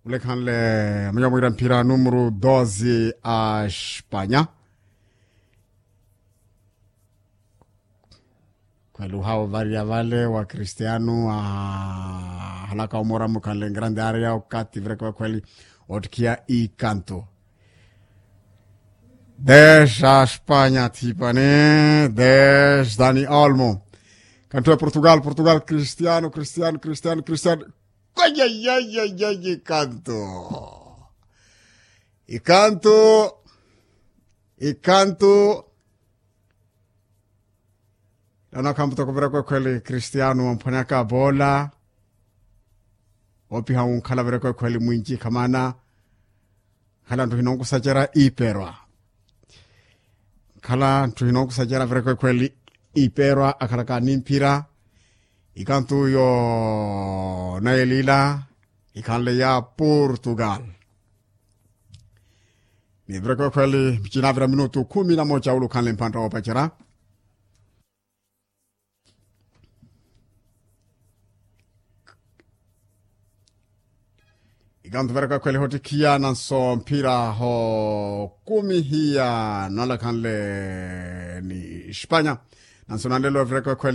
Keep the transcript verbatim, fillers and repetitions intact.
Ulekhanle manya mwira mpira numero doze a espanya. Khweli uhawa variya vale wa cristiano ahalaka omora mukhanle ngrande areya okati vireke vakhweli ottikhiya ikanto. Dez a espanya thipani, dez dani olmo. Kanto ya portugal portugal cristiano cristiano cristiano cristiano. Kwayayayayayi kanto. Ikanto. Ikanto. Nano akhamutoko vireko ekhweli cristiano wamphwaneyaka boola. Opiha wunkhala vireko ekhweli mwinci khamana. Khala nthu hinonkusacerya iperwa. Khala nthu hinonkusacerya vireko ekhweli iperwa akhalaka nimphira. Ikantu yo nayelila ikhanle ya portugal. Ni vireko ekhweli michinavira minutu khumi na mocha ulu khanle mphantta woopacerya. Ikantu vireko ekhweli hottikhiya nanso mphira hokumihiya nalakhanle ni espanya. Nanso nanlelo vireko ekhweli